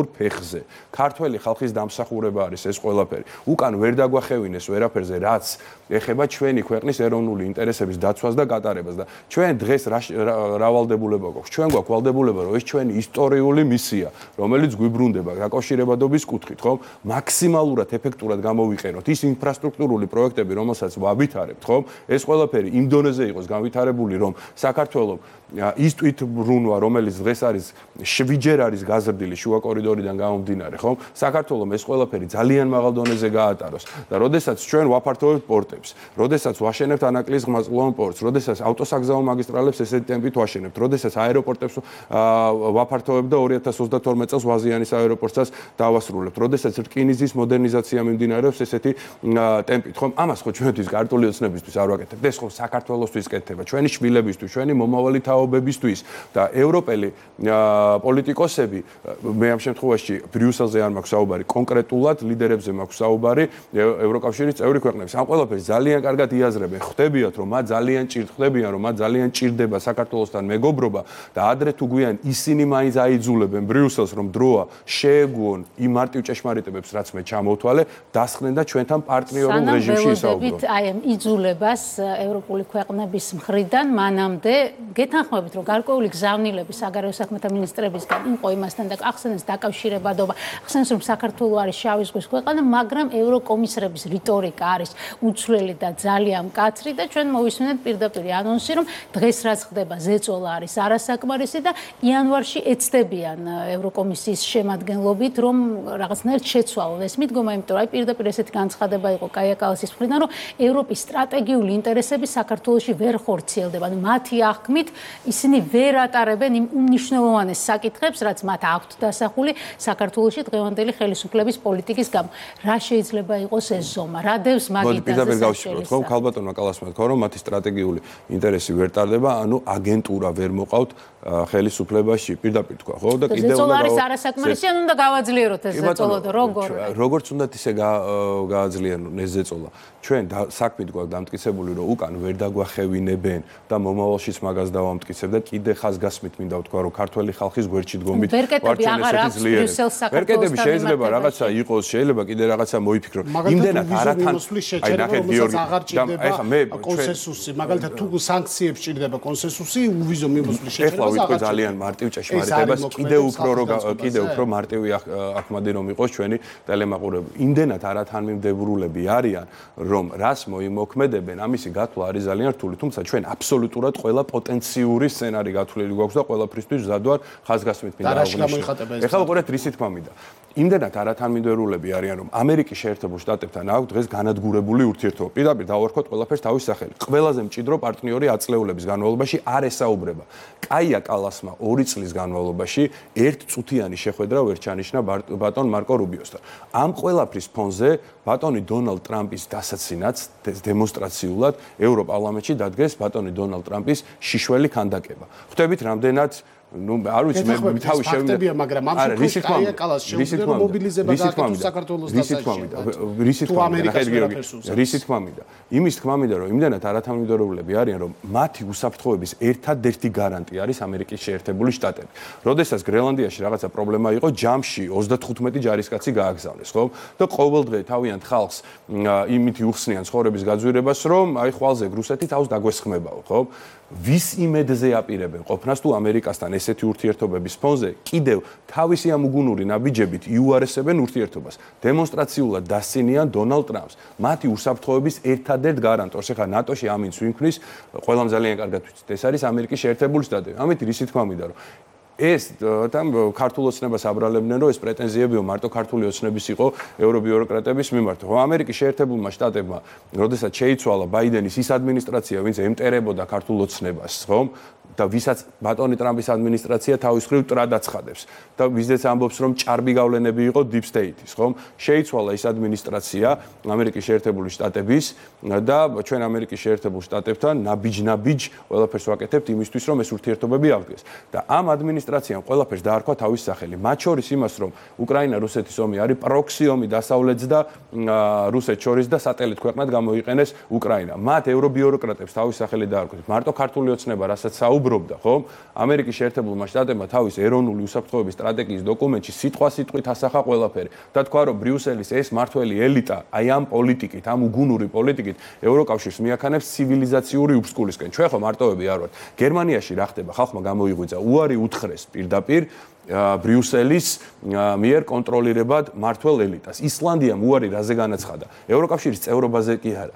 ფეხზე. ქართველი ხალხის დამსახურება არის ეს ყველაფერი. უკან ვერ დაგვახევინეს ვერაფერზე, რაც ეხება ჩვენი ქვეყნის ეროვნული ინტერესების დაცვას და გატარებას და ჩვენ დღეს რა ვალდებულება გვაქვს? ჩვენ გვაქვს ვალდებულება, რომ ეს ჩვენი ისტორიული მისია, რომელიც გვიბრუნდება დაკავშირებადობის კუთხით, ხომ? მაქსიმალურად ეფექტურად გამოვიყენოთ ის ინფრასტრუქტურული პროექტები, რომელსაც ვავითარებთ, ხომ? ეს ყველაფერი იმ დონეზე იყოს განვითარებული, რომ საქართველოს ის თვითმბრუნვა, რომელიც დღეს არის 7-ჯერ არის გაზრდილი შუა კორიდორიდან გამომდინარე, ხომ? საქართველოს ეს ყველაფერი ძალიან მაღალ დონეზე გაატაროს და როდესაც ჩვენ ვაფართოვებთ პორტებს, როდესაც ვაშენებთ ანაკლის ღმაწვოვან პორტს, როდესაც ავტოსაგზაო მაგისტრალებს ესეთი ტემპით ვაშენებთ, როდესაც აეროპორტებს ვაფართოვებთ და 2032 წელს ვაზიანის აეროპორტსაც დავასრულებთ, როდესაც რკინიგზის მოდერნიზაცია მიმდინარეობს ესეთი ტემპით, ხომ? ამას ხო ჩვენთვის ქართული ოცნებისთვის არ ვაკეთებთ, ეს ხო საქართველოსთვის კეთდება, ჩვენი შვილებისთვის, ჩვენი მომავალი თაობებისთვის და ევროპელი პოლიტიკოსები მე ამ შემთხვევაში ბრიუსელზე არ მაქვს საუბარი, კონკრეტულად ლიდერებზე მაქვს საუბარი ევროკავშირის წევრი ქვეყნების. ამ ყველაფერს ძალიან კარგად იაზრებენ, ხვდებიათ რომ მათ ძალიან ჭირდება საქართველოსთან მეგობრობა და ადრე თუ გვიან ისინი მაინც აიძულებენ ბრიუსელს რომ დროა შეეგუონ იმ მარტივ ჭეშმარიტებებს რაც მე ჩამოვთვალე, დასხნენ და ჩვენთან პარტნიორულ რეჟიმში ისაუბრონ. აი ამ იძულებას ევროპული ქვეყნების მხრიდან მანამდე გეთანხმებით რომ გარკვეული გზავნილები საგარეო საქმეთა მინისტრებისგან იყო იმასთან და ახსენეს დაკავშირებადობა, ახსენეს რომ საქართველო არის შავი ზღვის ქვეყანა, მაგრამ ევროკომისრების რიტორიკა არის უცვლელი და ძალიან მკაცრი და ჩვენ მოვისმენთ პირდაპირ ანონსი რომ დღეს რაც ხდება ზეწოლა არის არასაკმარისი და იანვარში ეცდებიან ევროკომისიის შემადგენლობით რომ რაღაცნაირად შეცვალონ ეს მიდგომა, იმიტომ რომ აი პირდაპირ ესეთი განცხადება იყო კაია კალასის მხრიდან რომ ევროპის სტრატეგიული ინტერესები საქართველოში ვერ ხორციელდება. ანუ მათი აღქმით ისინი ვერ ატარებენ იმ უმნიშვნელოვანეს საკითხებს, რაც მათ აქვთ დასახული საქართველოში დღევანდელი ხელისუფლების პოლიტიკის გამო. რა შეიძლება იყოს ეს ზომა? რა დევს მაგიდაზე გავშევოთ, ხო? ქალბატონმა კალასმა თქვა, რომ მათი სტრატეგიული ინტერესი ვერ ტარდება, ანუ აგენტურა ვერ მოყავთ ხელისუფლებაში, პირდაპირ თქვა, ხო? და კიდევ ზეწოლა არის არასაკმარისი, ან უნდა გავაძლიეროთ ეს ზეწოლა და როგორ? როგორც უნდათ ისე გააძლიერონ ეს ზეწოლა. ჩვენ საქმით გვაქვს დამტკიცებული, რომ უკან ვერ დაგვახევინებენ და მომავალშიც მაგას დავამტკიცებ და კიდე ხაზგასმით მინდა ვთქვა, რომ ქართველი ხალხის გვერდში დგომით ვარჩენ ესეთი ძლიერები. ვერკეტები შეიძლება რაღაცა იყოს, შეიძლება კიდე რაღაცა მოიფიქრო. იმდენად არათან აი ნახეთ გიორგი და მე კონსენსუსი, მაგალითად თუ სანქციებს ჭირდება კონსენსუსი, უვიზო მიმოსვლის შეჭრება ვიტყვი ძალიან მარტივ ჭეშმარიტებას, კიდევ უფრო მარტივი ახმადი რომ იყოს ჩვენი ტელემაყურებელი. იმდენად არათანმიმდევრულები არიან, რომ რას მოიმოქმედებენ, ამისი გათვლა არის ძალიან რთული, თუმცა ჩვენ აბსოლუტურად ყველა პოტენციური სცენარი გათვლილი გვაქვს და ყველაფრისთვის მზად ვარ ხაზგასმით მინდა აღნიშნო. ეხლა უყურეთ რისი თქმა მინდა. იმდენად არათანმიმდევრულები არიან, რომ ამერიკის შეერთებულ შტატებთან აქვს დღეს განადგურებული ურთიერთობა. პირდაპირ დავარქოთ ყველაფერს თავის სახელი. ყველაზე მჭიდრო პარტნიორი აწლეულების განმავლობაში არ ესაუბრება. კაია კალასმა 2 წლის განმავლობაში ერთწუთიანი შეხვედრა ვერ ჩანიშნა ბატონ მარკო რუბიოსთან. ამ ყველაფრის ფონზე ბატონი დონალდ ტრამპის დასაცინაც დემონსტრაციულად ევროპარლამენტში დადგეს ბატონი დონალდ ტრამპის შიშველი ქანდაკება. ხვდებით რამდენად არ ვიცი მე თავი შევიდე მაგრამ ამ შემთხვევაში კაია კალას შეუძლია მობილიზება გააკეთოს საქართველოს დასაჭერად. რისი თქმა მინდა? იმის თქმა მინდა, რომ იმდენად არათანმიმდევრულები არიან, რომ მათი უსაფრთხოების ერთადერთი გარანტია არის ამერიკის შეერთებული შტატები. როდესაც გრენლანდიაში რაღაცა პრობლემა იყო, ჯამში 35 ჯარისკაცი გააგზავნეს, ხო? და ყოველდღე თავიანთ ხალხს იმითი უხსნიან ცხოვრების გაძვირებას, რომ აი ხვალზე რუსეთი თავს დაგვესხმებაო, ხო? ვის იმედზე აპირებენ ყოფნას თუ ამერიკასთან ესეთი ურთიერთობების ფონზე კიდევ თავისი ამ უგუნური ნაბიჯებით იუარესებენ ურთიერთობას. დემონსტრაციულად დასცინიან დონალდ ტრამპს, მათი უსაფრთხოების ერთადერთ გარანტორს. ეხლა ნატოში ამინს ვინქმნის, ყველამ ძალიან კარგად ვიცით, ეს არის ამერიკის შეერთებული შტატები. ამით რისი თქმა მინდა, რომ ეს там ქართულ ოცნებას აბრალებდნენ, რომ ეს პრეტენზიებიო მარტო ქართული ოცნების იყო ევრობიუროკრატების მიმართ. ხო, ამერიკის შეერთებულმა შტატებმა, როდესაც შეიცვალა ბაიდენის ის ადმინისტრაცია, ვინც ემტერებოდა ქართულ ოცნებას, ხო? და ვისაც ბატონი ტრამპის ადმინისტრაცია თავის მხრივ ტრადაცხადებს და ვიზეც ამბობს რომ ჭარბი გავლენები იყო deep state-ის, ხო? შეიცვალა ის ადმინისტრაცია ამერიკის შეერთებული შტატების და ჩვენ ამერიკის შეერთებულ შტატებთან ნაბიჯ ყველაფერს ვაკეთებთ იმისთვის რომ ეს ურთიერთობები აღდგეს. და ამ ადმინისტრაციამ ყველაფერს დაარქვა თავის სახელი. მათ შორის იმას რომ უკრაინა-რუსეთის ომი არის პროქსი ომი დასავლეთს და რუსეთს შორის და სატელიტ ქვეყნად გამოიყენეს უკრაინა. მათ ევრობიუროკრატებს თავის სახელი დაარქვეს. მარტო ქართული ოცნება, რასაც საუბრობ საუბრობდა, ხო? ამერიკის შეერთებულმა შტატებმა თავის ეროვნული უსაფრთხოების სტრატეგიის დოკუმენტში სიტყვასიტყვით ასახა ყველაფერი და თქვა, რომ ბრიუსელის ეს მართველი ელიტა აი ამ პოლიტიკით, ამ უგუნური პოლიტიკით ევროკავშირს მიაქანებს ცივილიზაციური უფსკულისკენ. ჩვენ ხო მარტოები არ ვართ. გერმანიაში რა ხდება? ხალხმა გამოიღვიძა უარი უთხრეს პირდაპირ ბრიუსელის მიერ კონტროლირებად მართველ ელიტას. ისლანდიამ უარი რაზე განაცხადა? ევროკავშირის წევრობაზე კი არა.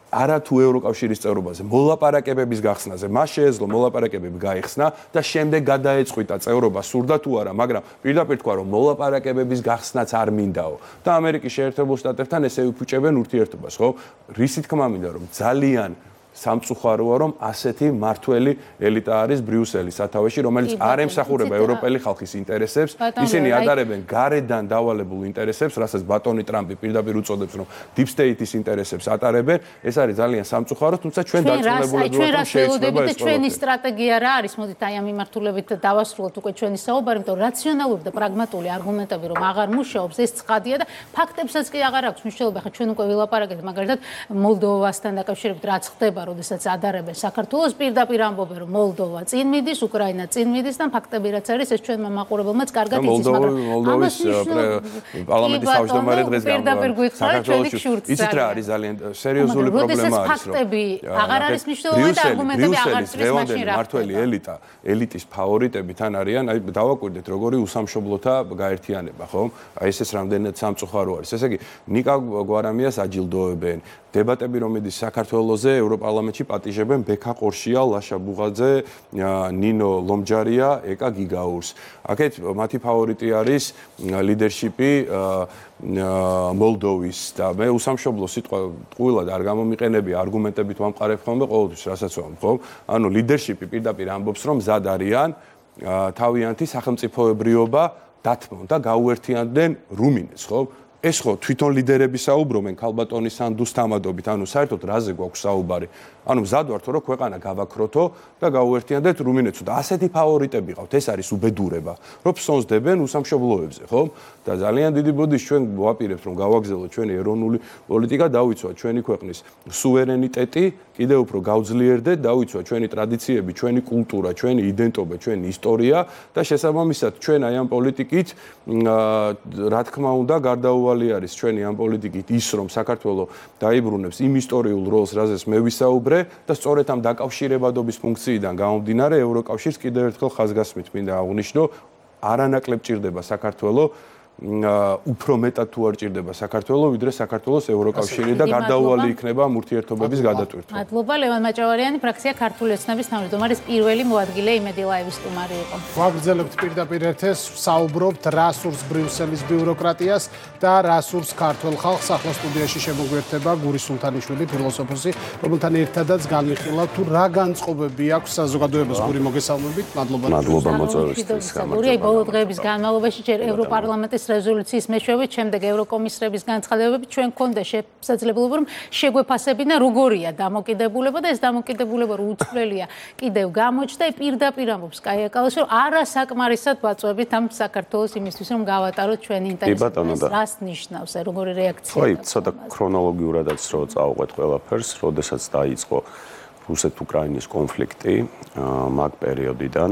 არა თუ ევროკავშირის წევრობაზე, მოლაპარაკებების გახსნაზე. მას შეეძლო მოლაპარაკებები გაიხსნა და შემდეგ გადაეწყვიტა წევრობა სურდა თუ არა, მაგრამ პირდაპირ თქვა, რომ მოლაპარაკებების გახსნაც არ მინდაო და ამერიკის შეერთებულ შტატებთან ესე უფუჭებენ ურთიერთობას, ხო? რისი თქმა მინდა, რომ ძალიან სამწუხაროა, რომ ასეთი მართველი ელიტა არის ბრიუსელის სათავეში, რომელიც არ ემსახურება ევროპელი ხალხის ინტერესებს, ისინი ატარებენ გარედან დავალებულ ინტერესებს, რასაც ბატონი ტრამპი პირდაპირ უწოდებს, რომ deep state-ის ინტერესებს ატარებენ, ეს არის ძალიან სამწუხარო, თუმცა ჩვენ დარწმუნებულები ვართ, რომ შეიძლება ეს ჩვენი სტრატეგია რა არის? მოდით აი ამ მიმართულებით დავასრულოთ უკვე ჩვენი საუბარი, იმიტომ რომ რაციონალური და პრაგმატული არგუმენტები რომ აღარ მუშაობს, ეს ცხადია და ფაქტებსაც კი აღარ აქვს მნიშვნელობა. ხა ჩვენ უკვე ვილაპარაკეთ მაგალითად მოლდოვასთან დაკავშირებით რაც ხდება, როდესაც ადარებენ საქართველოს პირდაპირ ამბობენ, რომ მოლდოვა წინ მიდის, უკრაინა წინ მიდის და ფაქტები რაც არის, ეს ჩვენმა მაყურებელმაც კარგად იცის, მაგრამ მოლდოვის პარლამენტის თავმჯდომარე დღეს გამოდის. იცით რა არის ძალიან სერიოზული პრობლემა არის, რომ ფაქტები აღარ არის მნიშვნელოვანი და არგუმენტები აღარ წრის მაშინ რა. მართველი ელიტის ფავორიტები თან არიან, აი დავაკვირდეთ როგორი უსამშობლოთა გაერთიანება, ხო? აი ესეც რამდენად სამწუხარო არის. ესე იგი, ნიკა გვარამიას აჯილდოებენ. დებატები რომ მიდის საქართველოზე ევროპარლამენტში პატიჟებენ ბექა ყორშია, ლაშა ბუღაძე, ნინო ლომჯარია, ეკა გიგაურს. აქეთ მათი ფავორიტი არის ლიდერშიპი მოლდოვის და მე უსამშობლო სიტყვა ტყუილად არ გამომიყენებია, არგუმენტებით ვამყარებ ხოლმე ყოველთვის, რასაც ვამბობ, ხო? ანუ ლიდერშიპი პირდაპირ ამბობს, რომ მზად არიან თავიანთი სახელმწიფოებრიობა დათმონ და გაუერთიანდნენ რუმინეთს, ხო? ეს ხო თვითონ ლიდერები საუბრობენ ქალბატონის სანდუს თამადობით, ანუ საერთოდ რაზე გვაქვს საუბარი? ანუ მზად ვართ, რომ ქვეყანა გავაქროთო და გაუერთიანდეთ რუმინეთს და ასეთი ფავორიტები ყავთ, ეს არის უბედურება, რომ ფსონსდებენ უსამშობლოებზე, ხო? და ძალიან დიდი ბოდიშ ჩვენ ვაპირებთ, რომ გავაგზავნოთ ჩვენი ეროვნული პოლიტიკა, დავიცვათ ჩვენი ქვეყნის სუვერენიტეტი, კიდევ უფრო გავძლიერდეთ, დავიცვათ ჩვენი ტრადიციები, ჩვენი კულტურა, ჩვენი იდენტობა, ჩვენი ისტორია და შესაბამისად ჩვენ აი ამ პოლიტიკით რა თქმა უნდა გარდაუვალი არის ჩვენი ამ პოლიტიკით ის, რომ საქართველოს დაიბრუნებს იმ ისტორიულ როლს, რაზეც მე ვისაუბრე და სწორედ ამ დაკავშირებადობის ფუნქციიდან გამომდინარე ევროკავშირს კიდევ ერთხელ ხაზგასმით მინდა აღვნიშნო, არანაკლებ ჭირდება საქართველოს უფრო მეტად თუ არ ჭირდება საქართველოს, ვიდრე საქართველოს ევროკავშირი და გარდაუვალი იქნება ამ ურთიერთობების გადატვირთვა. მადლობა. ლევან მაჭავარიანი, ფრაქცია ქართული ოცნების თავმჯდომარის პირველი მოადგილე იმედი ლაივის სტუმარი იყო. ვაგრძელებთ პირდაპირ ეთერს, საუბრობთ რა სურს ბრიუსელის ბიუროკრატიას და რა სურს ქართულ ხალხს. ახლა სტუდიაში შემოგვერთება გური სულთანიშვილი, ფილოსოფოსი, რომელთან ერთადაც განვიხილავთ თუ რა განწყობები აქვს საზოგადოებას. გური, მოგესალმებით. მადლობა. მადლობა მოწვევისთვის. გურიაი, ბოლო დღეების განმავლობაში ჯერ ევროპარლამენტის რეზოლუციის მეშვეობით, შემდეგ ევროკომისრების განცხადებებით ჩვენ გქონდა შესაძლებლობა, რომ შეგვეფასებინა როგორია დამოკიდებულება და ეს დამოკიდებულება რო უცვლელია კიდევ გამოჩნდა. პირდაპირ ამბობს კაია კალაში, რომ არასაკმარისად ვაწვევით ამ საქართველოს იმისთვის, რომ გავატაროთ ჩვენი ინტერესები. რას ნიშნავს, როგორი რეაქცია? ხო, ცოტა ქრონოლოგიურადაც რო წავყვეთ ყველაფერს, როდესაც დაიწყო რუსეთ-უკრაინის კონფლიქტი მაგ პერიოდიდან,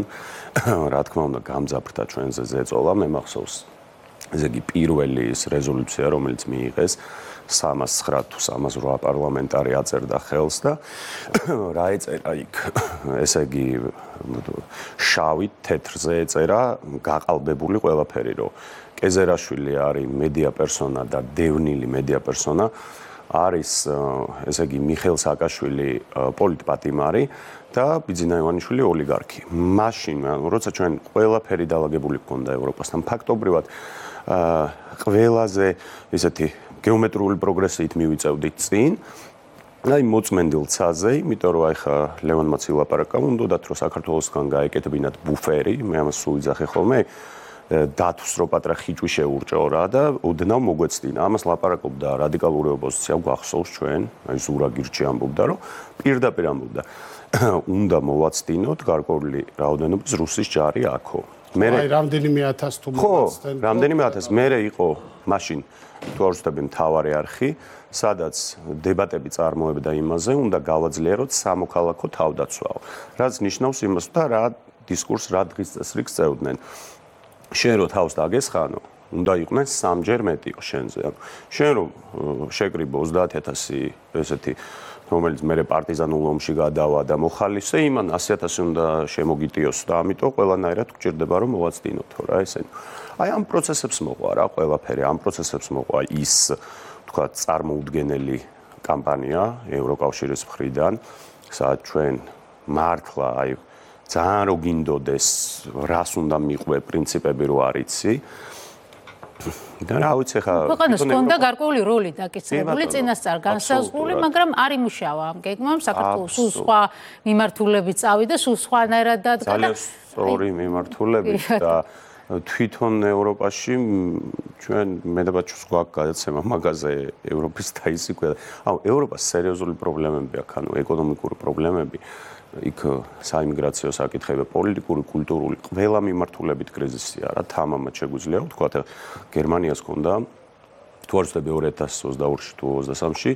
რა თქმა უნდა, გამძაფრდა ჩვენზე ზეწოლა, მე მახსოვს ესე იგი პირველი ის რეზოლუცია, რომელიც მიიღეს 309 თუ 308 პარლამენტარი აწერდა ხელს და რა ეწერა იქ, ესე იგი შავით თეთრზე ეწერა გაყალბებული ყველაფერი, რომ კეზერაშვილი არის მედია პერსონა და დევნილი მედია პერსონა არის, ესე იგი მიხეილ სააკაშვილი პოლიტპატიმარი და ბიძინა ივანიშვილი ოლიგარქი. მაშინ, როცა ჩვენ ყველაფერი დაალაგებული გქონდა ევროპასთან, ფაქტობრივად ყველაზე ესეთი გეომეტრიული პროგრესით მივიწევდით წინ. აი მოწმენდილ ცაზე, იმიტომ რომ აი ხა ლევანმაც ილაპარაკა, უნდათ რომ საქართველოსგან გაეკეთებინათ ბუფერი, მე ამას სულ ვიძახე ხოლმე, დათვს რო პატრა ხიჭვი შეურჭო რა და ოდნავ მოგვეცდინა. ამას ლაპარაკობდა რადიკალური ოპოზიცია, გვახსოვს ჩვენ, აი ზურა გირჩი ამბობდა, რომ პირდაპირ ამბობდა, უნდა მოვაცდინოთ გარკვეული რაოდენობის რუსის ჯარი აქო. აი რამდენიმე ათას თუ ხო, რამდენიმე ათას. მერე იყო მაშინ თუ არ ვცდები მთავარი არხი, სადაც დებატები წარმოებდა იმაზე, უნდა გავაძლიეროთ სამოქალაქო თავდაცვაო. რაც ნიშნავს იმას, და რა დისკურსს, რა დღის წესრიგს წევდნენ. შენ რო თავს დაგესხანო, უნდა იყვნენ სამჯერ მეტიო შენზე. ანუ შენ რო შეკრიბო 30,000 ესეთი რომელიც მე პარტიზანულ ომში გადავა და მოხალისე, იმან 100,000 უნდა შემოგიტიოს და ამიტომ ყველანაირად გჭირდება რომ მოვაცდინოთო რა ესენი. აი ამ პროცესებს მოყვა რა ყველაფერი, ამ პროცესებს მოყვა ის თქვა წარმოუდგენელი კამპანია ევროკავშირის მხრიდან, სადაც ჩვენ მართლა აი ძალიან რო გინდოდეს, რას უნდა მიყვე პრინციპები რო არიცი. და რა ვიცი ხა ქვეყანას ჰქონდა გარკვეული როლი დაკისრებული წინასწარ განსაზღვრული, მაგრამ არ იმუშავა ამ გეგმამ, საქართველოს სულ სხვა მიმართულები წავიდა, სულ სხვანაირად დადგა. ძალიან სწორი მიმართულები და თვითონ ევროპაში ჩვენ მე და ბაჩუს გვაქვს გადაცემა მაგაზე ევროპის დაისიკვე. ანუ ევროპას სერიოზული პრობლემები აქვს, ანუ ეკონომიკური პრობლემები. იქ საიმიგრაციო საკითხები, პოლიტიკური, კულტურული, ყველა მიმართულებით კრიზისია რა, თამამად შეგვიძლია ვთქვათ, გერმანიას ჰქონდა თუ არ ვცდები 2022-ში თუ 23-ში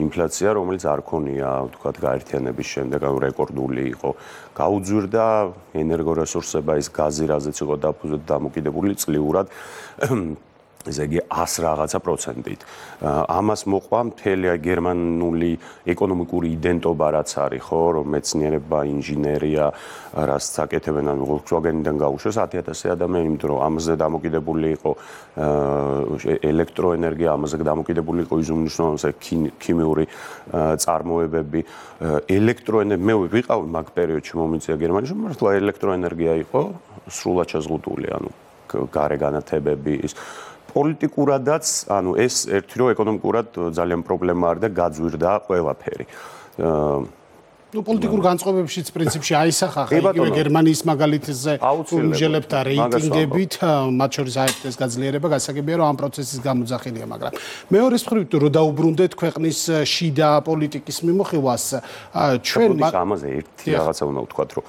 ინფლაცია, რომელიც არ ქონია, ვთქვათ, გაერთიანების შემდეგ, ანუ რეკორდული იყო. გაუძვირდა ენერგორესურსება, ის გაზი, რაზეც იყო დამოკიდებული წლიურად ესე იგი 100 რაღაცა პროცენტით. ამას მოყვა მთელი გერმანული ეკონომიკური იდენტობა რაც არის, ხო, რომ მეცნიერება, ინჟინერია, რაც აკეთებენ, ანუ Volkswagen-დან გაუშვეს 10,000 ადამიანი, იმიტომ რომ ამაზე დამოკიდებული იყო ელექტროენერგია, ამაზე დამოკიდებული იყო ის უმნიშვნელოვანესი ქიმიური წარმოებები, ელექტროენერგია. მე ვიყავი მაგ პერიოდში მომიწია გერმანიაში, მართლა ელექტროენერგია იყო სრულად შეზღუდული, ანუ გარე განათებები ის პოლიტიკურადაც, ანუ ეს ერთი რო ეკონომიკურად ძალიან პრობლემა არის და გაძვირდა ყველაფერი. ნუ პოლიტიკურ განწყობებშიც პრინციპში აისახა იგივე გერმანიის მაგალითზე უმჟელებთა რეიტინგებით, მათ შორის AfD-ს გაძლიერება გასაგებია რომ ამ პროცესის გამოძახილია, მაგრამ მეორეს მხრივ რო დაუბრუნდეთ ქვეყნის შიდა პოლიტიკის მიმოხილვას, ჩვენ ამაზე ერთი რაღაცა უნდა ვთქვათ, რომ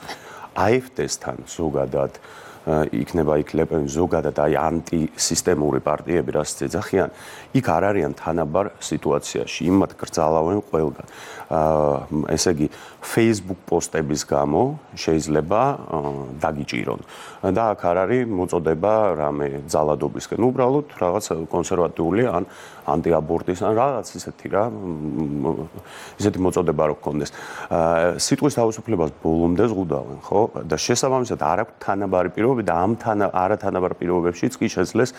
AfD-სთან ზოგადად იქნება იქ ლეპენ ზოგადად აი ანტისისტემური პარტიები რაც ეძახიან, იქ არ არიან თანაბარ სიტუაციაში, იმათ გრძალავენ ყველგან. ესე იგი Facebook პოსტების გამო შეიძლება დაგიჭირონ. და აქ არ არის მოწოდება რამე ძალადობისკენ, უბრალოდ რაღაც კონსერვატიული ან ანტიაბორტის ან რაღაც ისეთი რა, ისეთი მოწოდება რო გქონდეს. სიტყვის თავისუფლებას ბოლომდე ზღუდავენ, ხო? და შესაბამისად არ აქვს თანაბარი პირობები და ამ არათანაბარ პირობებშიც კი შეძლეს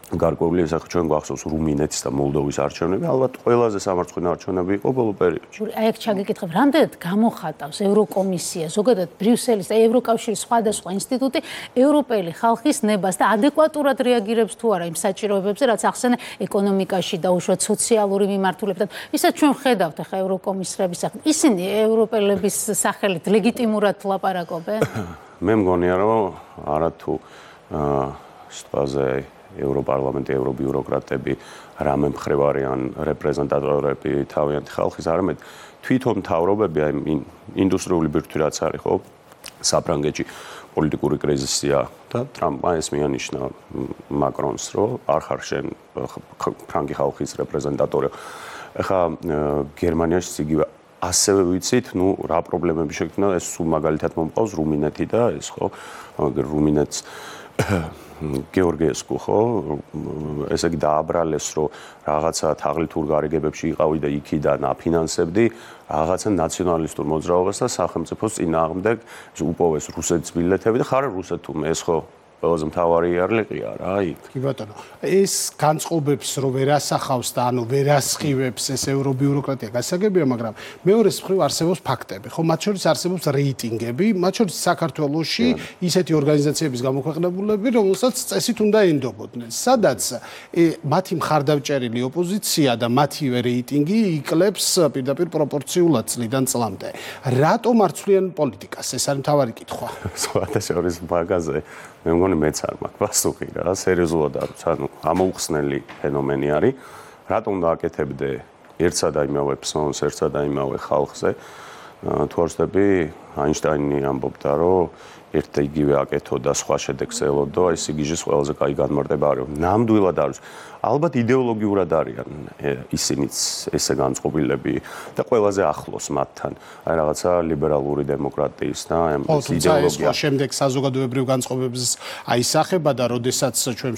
გარკვეული ესახ ჩვენ გვახსოვს რუმინეთის და მოლდოვის არჩევნები, ალბათ ყველაზე სამარცხვინო არჩევნები იყო ბოლო პერიოდში. აი აქ ჩაგიკითხებ, რამდენად გამოხატავს ევროკომისია, ზოგადად ბრიუსელის და ევროკავშირის სხვადასხვა ინსტიტუტი ევროპელი ხალხის ნებას და ადეკვატურად რეაგირებს თუ არა იმ საჭიროებებზე, რაც ახსენე ეკონომიკაში და უშუალოდ სოციალური მიმართულებიდან. ვისაც ჩვენ ხედავთ ახლა ევროკომისრების სახით, ისინი ევროპელების სახელით ლეგიტიმურად ლაპარაკობენ? მე მგონია, რომ არათუ სტვაზე ევროპარლამენტი, ევრობიუროკრატები, რამე მხრივ არიან რეპრეზენტატორები თავიანთი ხალხის, არამედ თვითონ მთავრობები, აი ინდუსტრიული ბირთვი რაც არის, ხო, საფრანგეთში პოლიტიკური კრიზისია და ტრამპმა ეს მიანიშნა მაკრონს, რომ არ ხარ შენ ფრანგი ხალხის რეპრეზენტატორი. ახლა გერმანიაში იგივე ასევე ვიცით, ნუ რა პრობლემები შექმნა, ეს სულ მაგალითად მომყავს რუმინეთი და ეს ხო, რუმინეთს გეორგიესკუ ხო, ესე იგი დააბრალეს, რომ რაღაცა თაღლითურ გარიგებებში იყავი და იქიდან აფინანსებდი რაღაცა ნაციონალისტურ მოძრაობას და სახელმწიფოს წინააღმდეგ უპოვეს რუსეთის ბილეთები და ხარ რუსეთუმ ეს ხო ყველაზე მთავარი იარლიყია რა იქ. კი ბატონო, ეს განწყობებს რო ვერ ასახავს და ანუ ვერ ასხივებს ეს ევრობიუროკრატია გასაგებია, მაგრამ მეორეს მხრივ არსებობს ფაქტები, ხო, მათ შორის არსებობს რეიტინგები, მათ შორის საქართველოში ისეთი ორგანიზაციების გამოქვეყნებულები, რომელსაც წესით უნდა ენდობოდნენ, სადაც მათი მხარდამჭერილი ოპოზიცია და მათივე რეიტინგი იკლებს პირდაპირ პროპორციულად წლიდან წლამდე. რატომ არ ცვლიან პოლიტიკას? ეს არის მთავარი კითხვა. სხვადასხვა მაგაზე მე მგონი მეც არ მაქვს პასუხი რა, სერიოზულად არის, ანუ ამოუხსნელი ფენომენი არის. რატომ დააკეთებდე ერთსა და იმავე ფსონს, ერთსა და იმავე ხალხზე? თუ არ ვცდები, აინშტაინი ამბობდა, რომ ერთ და იგივე აკეთო და სხვა შედეგს ელოდო, აი სიგიჟის ყველაზე კაი განმარტება არის. ნამდვილად არის. ალბათ იდეოლოგიურად არიან ისინიც ესე განწყობილები და ყველაზე ახლოს მათთან. აი რაღაცა ლიბერალური დემოკრატიის და ამ იდეოლოგია. შემდეგ საზოგადოებრივ განწყობებს აისახება და როდესაც ჩვენ